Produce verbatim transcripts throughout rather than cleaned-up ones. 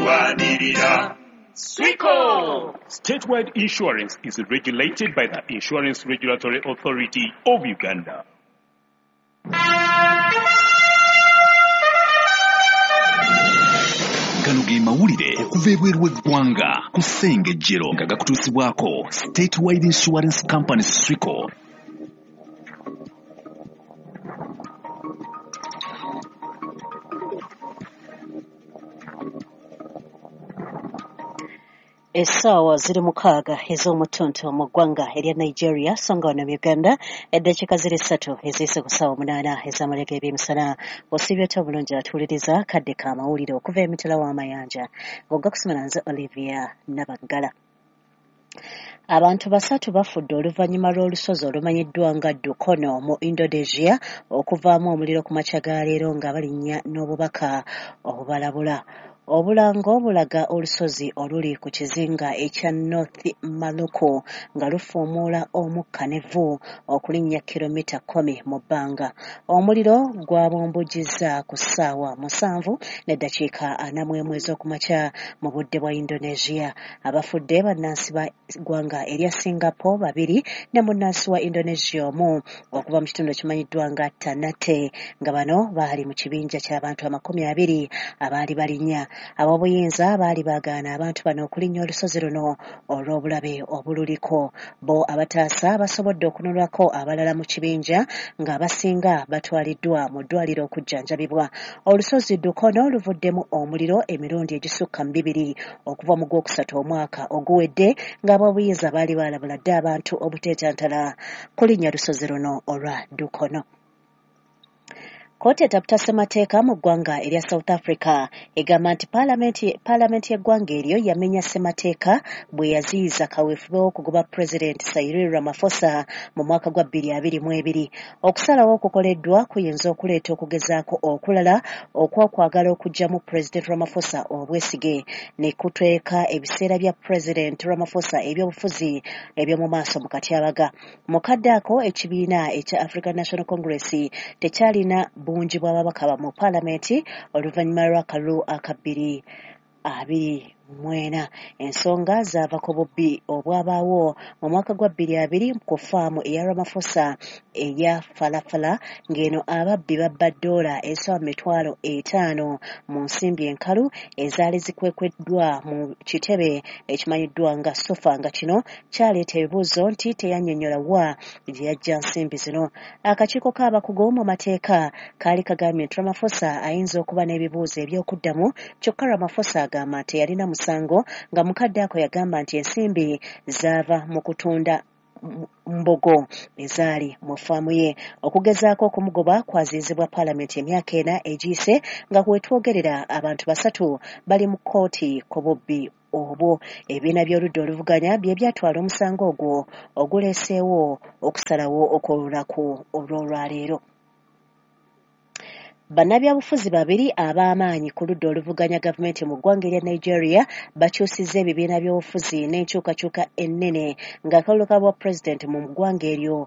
Tulwanirira Swico. Statewide Insurance is regulated by the Insurance Regulatory Authority of Uganda. Gano ge mawulire okuva ebweru w'eggwanga ku Ssengejjero nga gakutuusibwako Statewide Insurance Company Swico. Essaawa ziri mukaaga ez'omutuntu mu ggwanga erya Nigeria, so nga wano mu Uganda eddakiika ziri ssatu eziyise ku ssaawa munaana ez'amalya g'ebyemisana. Osiibye otya obulungi atuwuliriza kadde ka mawulire okuva emitala w'amayanja ng'ogga kusomera nze Olivia Nabaggala. Abantu basatu bafudde oluvannyuma lw'olusozi olumanyiddwa nga Dukono mu Indonesia okuvaamu omuliro ku makya ga leero nga balinnya n'obubaka obubalabula. Obulango bulaga olusozi oluli ku kizinga ekya North Maluku nga lufuumuula omukka n'evvu okulinnya kilomita kkumi mu bbanga. Omuliro gwabumbujjizza ku ssaawa musanvu n'eddakiika ana mu emu ez'okumakya mu budde bwa Indonesia. Abafudde bannansi ba ggwanga erya Singapore babiri ne munnansi wa Indonesia omu okuva mu kitundu ekimanyiddwa nga Ternate, nga bano baali mu kibinja ky'abantu amakumi abiri abaali balinnya. Ab'obuyinza baali baagaana abantu bano okulinnya olusozi luno olw'obulabe obululiko. Bo abataasa basobodde okununulako abalala mu kibinja ng'abasinga batwaliddwa mu ddwaliro okujjanjabibwa. Olusozi Dukono luvuddemu omuliro emirundi egisukka mu bibiri okuva mu gwokusatu omwaka oguwedde, ng'ab'obuyinza baali baalabula dda abantu obuteetantala kulinnya lusozi luno olwa Dukono. Kkooti etaputa ssemateeka mu ggwanga erya South Africa egamba nti paalamenti paalamenti y'eggwanga eryo yamenya ssemateeka bwe yaziyiza kaweefube w'okugoba Pulezidenti Cyril Ramaphosa mu mwaka gwa bbiri abiri mu ebiri. Okusalawo okukoleddwa kuyinza okuleeta okugezaako okulala okw'okwagala okuggyamu Pulezidenti Ramaphosa obwesige ne kuteeka ebiseera bya Pulezidenti Ramaphosa ebyobufuzi eby'omu maaso mu katyabaga. Mu kadde ako ekibiina ekya African National Congress tekyalina bungi bw'ababaka mu paalamenti oluvannyuma lw'akalulu aka bbiri abiri mu ena. Ensonga zaava ku bubbi obwabaawo mu mwaka gwa bbiri abiri ku ffaamu eya Ramaphosa eya Falafala, ng'eno ababbi babba ddoola ezisoba mu mitwalo etaano mu nsimbi enkalu ezaali zikwekweddwa mu kitebe ekimanyiddwa nga Sofa, nga kino kyaleeta ebibuuzo nti teyannyonnyola wa gye yaggya nsimbi zino. Akakiiko k'abakugu mu mateeka kaali kagambye nti Ramaphosa ayinza okuba n'ebibuuzo eby'okuddamu, kyokka Ramaphosa agamba nti teyalina musango, nga mukadde ako yagamba nti ensimbi zaava mu kutunda mbogo ezaali mu ffaamu ye. Okugezaako okumugoba kwaziizibwa paalamenti emyaka ena egiyise, nga wetwogerera abantu basatu bali mu kkooti ku bubbi obwo. Ebibiina by'oludda oluvuganya bye byatwala omusango ogwo oguleeseewo okusalawo okw'olunaku olw'olwaleero. Bannabyabufuzi babiri ab'amaanyi ku ludda oluvuganya gavumenti mu ggwanga erya Nigeria bakyusizza ebibiina by'obufuzi n'enkyukakyuka ennene ng'akalulu ka bwa pulezidenti mu ggwanga eryo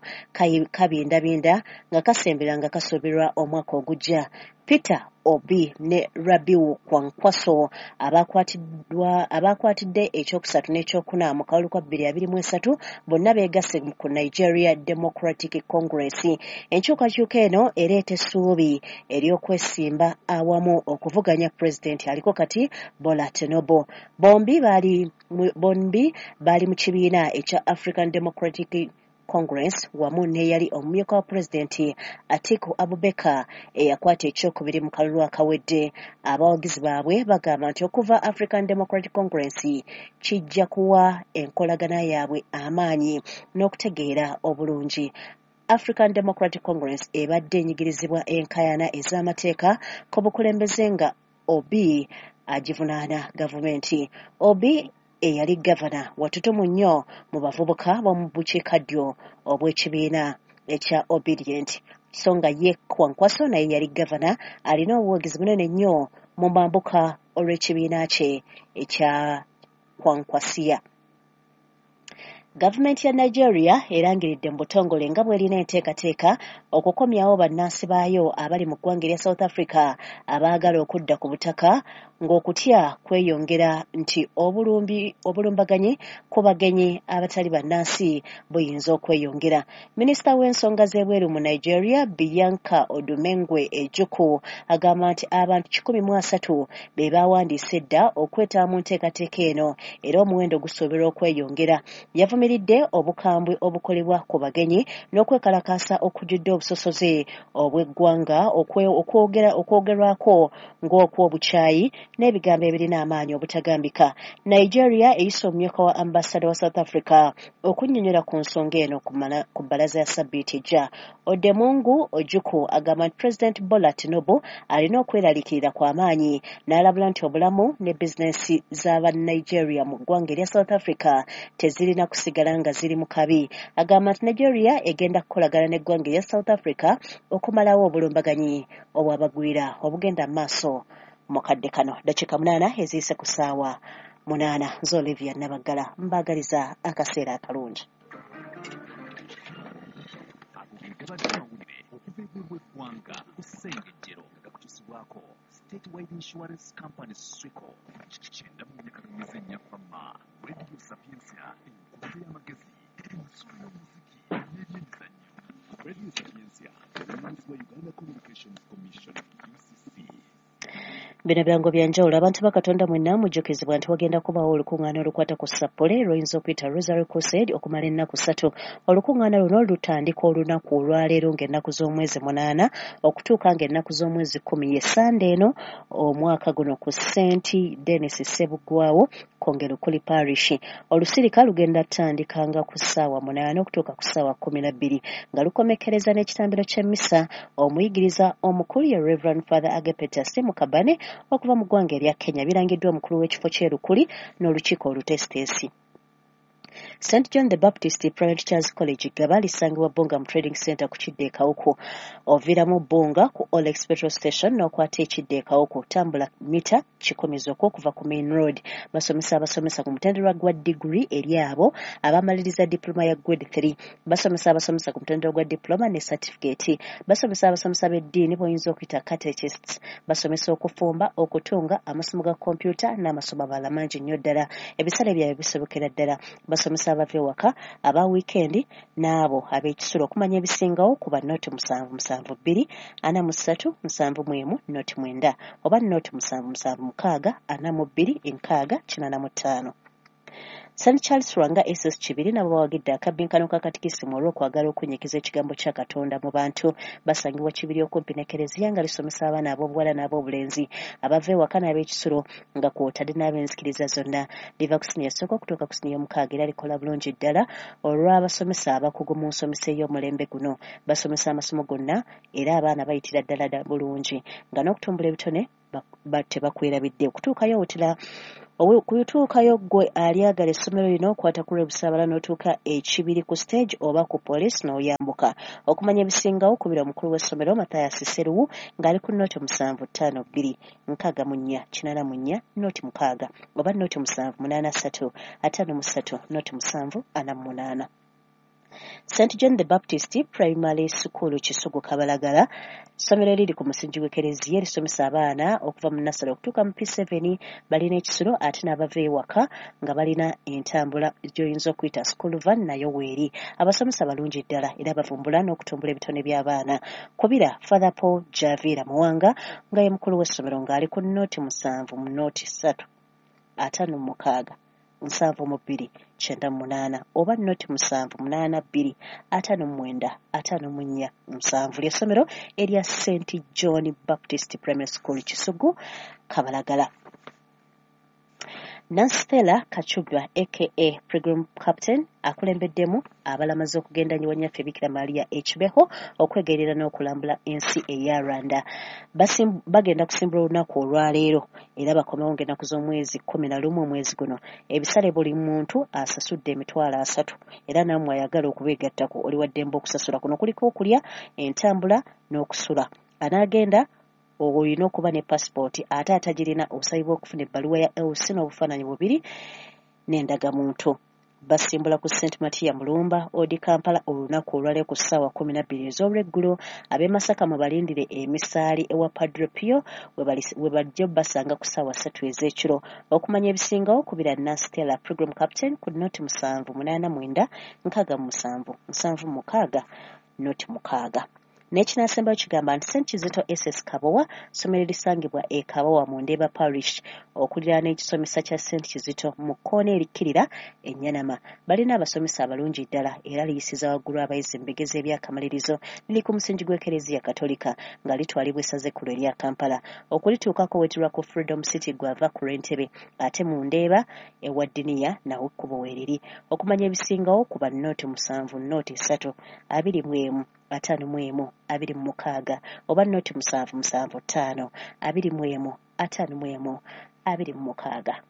kabindabinda nga kasembera nga kasuubirwa omwaka ogujja. Peter Obi ne Rabiu Kwankwaso abakwatiddwa abakwatidde ekyokusatu n'ekyokuna mu kalulu ka bbiri abiri mu esatu bonna beegasse ku Nigeria Democratic Congress. Enkyukakyuka eno ereeta essuubi ery'okwesimba awamu okuvuganya pulezidenti aliko kati Bola Tinubu. Bombi baali bombi baali mu kibiina ekya African Democratic Congress wamu n'eyali omumyuka wa pulezidenti Atiku Abubakar eyakwata ekyokubiri mu kalulu akawedde. Abawagizi baabwe bagamba nti okuva African Democratic Congress kijja kuwa enkolagana yaabwe amaanyi n'okutegeera obulungi. African Democratic Congress ebadde enyigirizibwa enkaayana ez'amateeka ku bukulembeze nga Obi agivunaana gavumenti. Obi eyali gavana watutumu nnyo mu bavubuka b'omu bukiikaddyo obw'ekibiina ekya Obedient, so nga ye Kwankwaso naye yali gavana alina obuwagizi bunene nnyo mu mambuka olw'ekibiina kye ekya Kwankwasiya. Gavumenti ya Nigeria erangiridde mu butongole nga bw'erina enteekateeka okukomyawo bannansi baayo abali mu ggwanga erya South Africa abaagala okudda ku butaka ng'okutya kweyongera nti obulumbi obulumbaganyi ku bagenyi abatali bannansi buyinza okweyongera. Minisita w'ensonga z'ebweru mu Nigeria, Bianca Odumengwe Ojukwu, agamba nti abantu kikumi mu asatu be bawandiise edda okwetaba mu nteekateeka eno era omuwendo gusuubirwa okweyongera. Yavumiridde obukambwe obukolebwa ku bagenyi n'okwekalakaasa okujjudde obusosoze obw'eggwanga okwogerwako ng'okw'obukyayi n'ebigambo ebirina amaanyi obutagambika. Nigeria eyise omumyuka wa ambasada wa South Africa okunnyonnyola ku nsonga eno ku bbalaza ya sabbiiti ejja. Odemungu Ojukwu agamba nti President Bola Tinubu alina okweraliikirira kw'amaanyi n'alabula nti obulamu ne bizinensi z'Abanigeria mu ggwanga erya South Africa tezirina kusigala nga ziri mu kabi. Agamba nti Nigeria egenda kukolagana n'eggwanga erya South Africa okumalawo obulumbaganyi obwabagwira obugenda mu maaso mu kadde kano. Dakiika munaana eziyise ku ssaawa munaana. Nze Olivia Nabaggala mbaagaliza akaseera akalungi. Okuva ebweru w'eggwanga ku Ssengejjero nga gakutuusibwako Statewide Insurance Company Swico kyenda mu nnya ennya Fama Radio Sapientia, enkutu y'amagezi, ensolo y'omuziki n'ebyemizannyo. Radio Sapientia erunnyizibwa Uganda Communications Commission U C C. Bino birango bya njawulo. Abantu ba Katonda mwenna mujjukizibwa nti wagenda kubaawo olukuŋŋaana olukwata ku Sappole lw'oyinza okuyita Rosary Crusade okumala ennaku ssatu. Olukuŋŋaana luno lutandika olunaku olwaleero ng'ennaku z'omwezi munaana okutuuka ng'ennaku z'omwezi kkumi ye Sande eno omwaka guno ku Saint Denis Ssebuggwawo Kongero Kuli Parish. Olusirika lugenda kutandikanga ku ssaawa munaana okutuuka ku ssaawa kkumi na bbiri nga lukomekkereza n'ekitambiro ky'emmisa. Omuyigiriza omukulu ye Reverend Father Agapetus Mukabane okuva mu ggwanga erya Kenya. Birangiddwa omukulu w'ekifo ky'e Lukuli n'olukiiko oluteesiteesi. Saint John the Baptist Private Church College Gaba lisangibwa Bbunga mu Trading Center ku kidda e Kawuku. Oviiramu Bbunga ku Olex Petrol Station n'okwata ekidda e Kawuku, tambula mita kikumi zokka okuva ku Main Road. Basomesa abasomesa ku mutendera gwa degree eri abo abamaliriza diploma ya grade three. Basomesa abasomesa ku mutendera gwa diploma ne certificate. Basomesa abasomesa b'eddiini b'oyinza okuyita catechists. Basomesa okufumba, okutunga, amasomo ga kompyuta n'amasomo amalala mangi nnyo ddala. Ebisale byabwe bisobokera ddala. Basomesa abava ewaka, aba wiikendi n'abo ab'ekisulo. Okumanya ebisingawo kuba noti musanvu musanvu bbiri ana mu ssatu musanvu mu emu noti mwenda oba noti musanvu musanvu mukaaga ana mu bbiri enkaaga kinaana mu ttaano. Saint Charles Lwanga S S Kibiri nabo bawagidde akabbinkano ka katikisimu olw'okwagala okunyikiza ekigambo kya Katonda mu bantu. Basangibwa Kibiri okumpi ne Kereziya nga lisomesa abaana ab'obuwala n'ab'obulenzi abava ewaka n'ab'ekisulo nga kw'otadde n'ab'enzikiriza zonna. Liva ku siniya esooka okutuuka ku siniya omukaaga era likola bulungi ddala olw'abasomesa abakugu mu nsomesa ey'omulembe guno. Basomesa amasomo gonna era abaana bayitira ddala bulungi nga n'okutumbula ebitone tebakwerabidde. Okutuukayo otera okutuukayo ggwe alyagala essomero lino okwata ku Lwebusaabala n'otuuka ekibiri ku stage oba ku poliisi n'oyambuka. Okumanya ebisingawo kubira omukulu w'essomero Mathias Sseruwu ng'ali ku noti musanvu ttaano bbiri nkaaga mu nnya kinaana mu nnya noti mukaaga oba noti musanvu munaana ssatu ataano mu ssatu noti musanvu ana mu munaana. Saint John the Baptist Primary School Kisugu Kabalagala, ssomero eriri ku musingi gw'Ekereziya erisomesa abaana okuva mu nasale okutuuka mu P seven. Balina ekisulo ate n'abava ewaka nga balina entambula gy'oyinza okuyita school van nayo weeri. Abasomesa balungi ddala era bavumbula n'okutumbula ebitone by'abaana. Kubira Father Paul Javiera Muwanga nga ye mukulu w'essomero ng'ali ku noti musanvu mu noti ssatu ataano mu mukaaga nsanvu mu bbiri kyenda mu munaana oba noti musanvu munaana bbiri ataano mu mwenda ataano mu nnya musanvu. Ly'essomero erya Saint John Baptist Primary School Kisugu Kabalagala. Nancy Kachubwa aka Pilgrim Captain akulembeddemu abalamazi okugenda Nnyaffe Bikira Maria Ekibeho okwegerera n'okulambula ensi eya Rwanda. Bagenda kusimbula olunaku olwaleero era bakomewo ng'ennaku z'omwezi kkumi na lumu omwezi guno. Ebisale buli muntu asasudde emitwalo asatu era nammwe ayagala okubeegattako oli wa ddembe okusasula. Kuno kuliko okulya, entambula n'okusula. Anaagenda olina okuba ne passport ate atagirina osabibwa okufuna ebbaluwa ya L C n'obufaananyi bubiri n'endagamuntu. Basimbula ku Saint Matia Mulumba Odi Kampala olunaku olwaleero ku ssaawa kkumi na bbiri ez'olweggulo. Ab'e Masaka mubalindire emisaali ewa Padre Pio we bajja basanga ku ssaawa ssatu ez'ekiro. Okumanya ebisingawo kubira Nancy Stella program captain ku noti musanvu munaana mwenda nkaaga mu musanvu nsanvu mukaaga noti mukaaga. N'ekinaasembayo kigamba nti Saint Kizito S S Kabowa ssomero erisangibwa e Kabowa mu Ndeeba Parish okuliraana ekisomesa kya Saint Kizito mu kkoona erikkirira e Nyanama. Balina abasomesa abalungi ddala era liyisiza waggulu abayizi mu bigezo eby'akamalirizo. Liri ku musingi gw'Ekereziya Katolika nga litwalibwa essaza ekkulu erya Kampala. Okulituukako weetirwa ku Freedom City gw'ava ku lw'Entebe, ate mu Ndeeba ewa Ddiniya nawo ekkubo weeriri. Okumanya ebisingawo kuba noti musanvu noti ssatu abiri mu emu ataano mu emu abiri mu mukaaga oba noti musanvu musanvu ttaano abiri mu emu ataano mu emu abiri mu mukaaga.